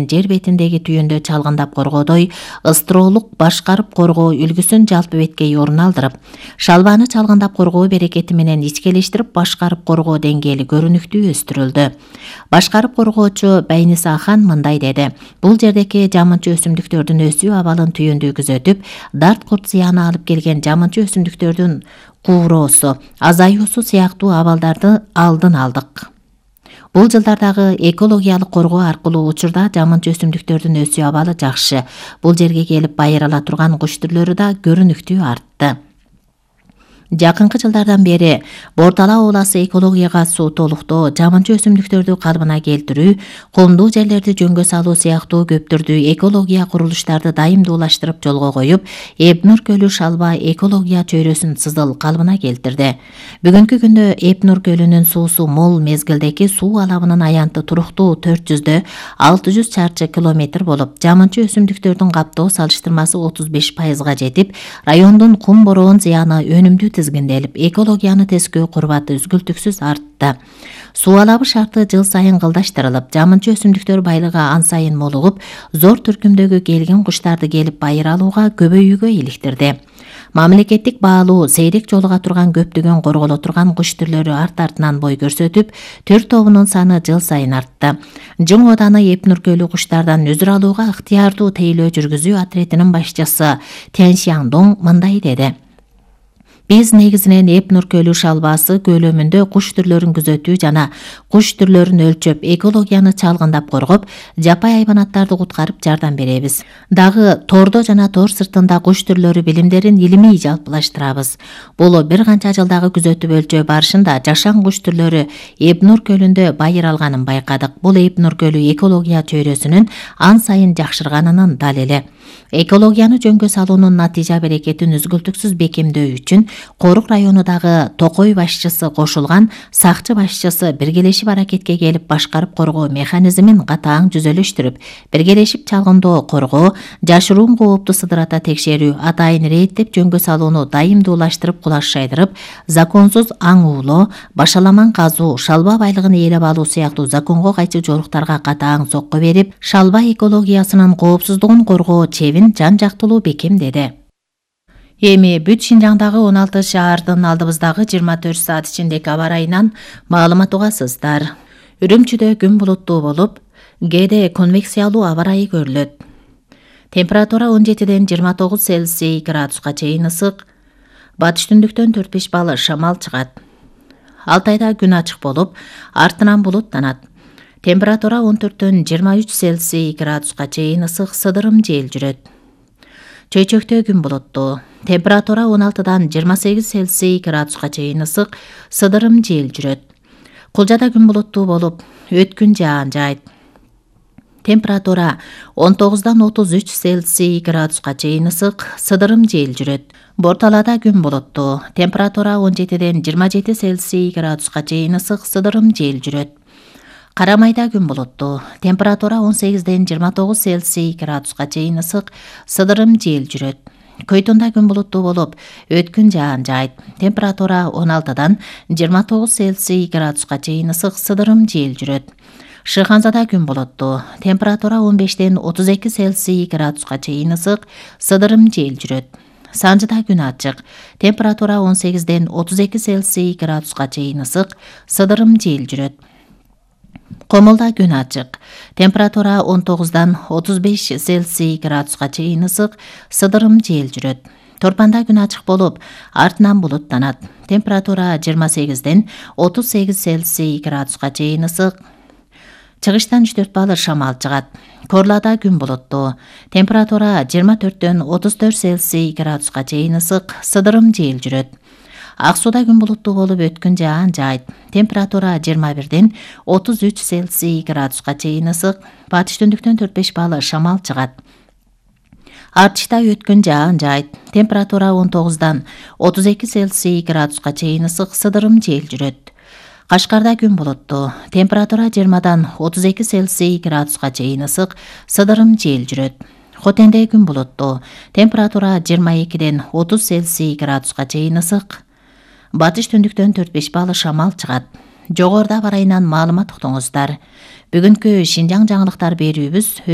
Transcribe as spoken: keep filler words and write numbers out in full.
жер бетиндеги түйүндө чалгындап коргоодой ыстыроолук башкарып коргоо үлгүсүн жалпы беткей орун алдырып, шалбаны чалгындап коргоо берекети менен ичкелештирип башкарып коргоо деңгээли көрүнүктүү өстүрүлдү. Башкарып коргоочу Байниса Ахан мындай деди: бул жердеки жамынчы өсүмдүктөрдүн өсүү абалын түйүндүү күзөтүп, дарт курт зыяны алып келген жамынчы өсүмдүктөрдүн кууроосу, азаюусу сыяктуу абалдарды алдын алдык. Бул жылдардагы экологиялык коргоо аркылуу учурда жамынчы өсүмдүктөрдүн өсүү абалы жакшы. Бул жерге келип байырала турган куш түрлөрү да көрүнүктүү артты. Жакынкы жылдардан бери Бортала ууласы экологияга суу-толуктоо, жамынчы өсүмдүктөрдү калыбына келтирүү, кумдуу жерлерди жөнгө салуу сыяктуу көп түрдүү экология курулуштарды дайымдуулаштырып жолго коюп, Эпнур көлү шалба экология чөйрөсүн сызыл калыбына келтирди. Бүгүнкү күндө Эпнур көлүнүн суусу мол мезгилдеки суу алабынын аянты туруктуу төрт жүздө алты жүз чарчы километр болуп, жамынчы өсүмдүктөрдүн каптоо салыштырмасы отуз беш пайызга жетип, райондун кум бороон зыяны өнүмдүү тизгинделип, экологияны тескөө курбаты үзгүлтүксүз артты. Суу алабы шарты жыл сайын кылдаштырылып, жамынчы өсүмдүктөр байлыгы ан сайын молугуп, зор түркүмдөгү келгин куштарды келип байыр алууга көбөйүүгө иликтирди. Мамлекеттик баалуу сейрек жолуга турган көптөгөн корголо турган куш түрлөрү арт-артынан бой көрсөтүп, төр тобунун саны жыл сайын артты. Жың ооданы Эпнур көлү куштардан өзүр алууга ыктыярдуу тейлөө жүргүзүү отрядынын башчысы Тянь Шяндong мындай деди: Биз негизинен Эпнур көлү шалбасы көлөмүндө куш түрлөрүн күзөтүү жана куш түрлөрүн өлчөп, экологияны чалгындап коргоп, жапай айбанаттарды куткарып жардам беребиз. Дагы тордо жана тор сыртында куш түрлөрү билимдерин илимий жалпылаштырабыз. Бул бир канча жылдагы күзөтүп өлчөө барышында жашан куш түрлөрү Эпнур көлүндө байыр алганын байкадык. Бул Эпнур көлү экология чөйрөсүнүн ан сайын жакшырганынын далили. Экологияны жөнгө салуунун натыйжа берекетин үзгүлтүксүз бекемдөө үчүн Корук районундагы Токой башчысы кошулган сакчы башчысы биргелешип аракетке келип башкарып коргоо механизмин катаң жүзөлөштүрүп, биргелешип чалгындоо коргоо, жашыруун коопту сыдырата текшерүү, атайын рейдтеп жөнгө салууну дайымдуулаштырып кулашайдырып, законсуз аң уулоо, башаламан казуу, шалба байлыгын ээлеп алуу сыяктуу законго кайчы жоруктарга катаң сокко берип, шалба экологиясынын коопсуздугун коргоо чебин жан жактылуу бекемдеди. Эми бүт Шинжаңдагы он алты шаардын алдыбыздагы жыйырма төрт саат ичиндеки аба ырайынан маалымат угасыздар. Үрүмчүдө күн булуттуу болуп, кээде конвекциялуу аба ырайы көрүлөт. Температура он жетиден жыйырма тогуз Цельсий градуска чейин ысык. Батыш түндүктөн төрт беш балы шамал чыгат. Алтайда күн ачык болуп, артынан булуттанат. Температура он төрттөн жыйырма үч Цельсий градуска чейин ысык, сыдырым жел жүрөт. Чөйчөктө күн булуттуу. Температура он алтыдан жыйырма сегиз Цельсий градуска чейин ысык, сыдырым жел жүрөт. Кулжада күн булуттуу болуп, өткүн жаан жаайт. Температура он тогуздан отуз үч Цельсий градуска чейин ысык, сыдырым жел жүрөт. Борталада күн булуттуу. Температура он жетиден жыйырма жети Цельсий градуска чейин ысык, сыдырым жел жүрөт. Карамайда күн булуттуу. Температура он сегизден жыйырма тогуз Цельсий градуска чейин ысык, сыдырым жел жүрөт. Көйтүндө күн булуттуу болуп, өткүн жаан жаайт. Температура он алтыдан жыйырма тогуз Цельсий градуска чейин ысык, сыдырым жел жүрөт. Шыханзада күн булуттуу. Температура он бештен отуз эки Цельсий градуска чейин ысык, сыдырым жел жүрөт. Санжыда күн ачык. Температура он сегизден отуз эки Цельсий градуска чейин ысык, сыдырым жел жүрөт. Комулда күн ачык. Температура он тогуздан отуз беш Цельсий градуска чейин ысык, сыдырым жел жүрөт. Торпанда күн ачык болуп, артынан булуттанат. Температура жыйырма сегизден отуз сегиз Цельсий градуска чейин ысык. Чыгыштан үч төрт балы шамал чыгат. Корлада күн булуттуу. Температура жыйырма төрттөн отуз төрт Цельсий градуска чейин ысык, сыдырым жел жүрөт. Ак сууда күн булуттуу болуп, өткүн жаан жаайт. Температура жыйырма бирден отуз үч Цельсий градуска чейин ысык. Батыш түндүктөн төрт беш балы шамал чыгат. Артышта өткүн жаан жаайт. Температура он тогуздан отуз эки Цельсий градуска чейин ысык, сыдырым жел жүрөт. Кашкарда күн булуттуу. Температура жыйырмадан отуз эки Цельсий градуска чейин ысык, сыдырым жел жүрөт. Хотенде күн булуттуу. Температура жыйырма экиден отуз Цельсий градуска чейин ысык. Батыш түндүктөн төрт беш балы шамал чыгат. Жогоруда барайынан маалымат уктуңуздар. Бүгүнкү Шинжаң жаңылыктар берүүбүз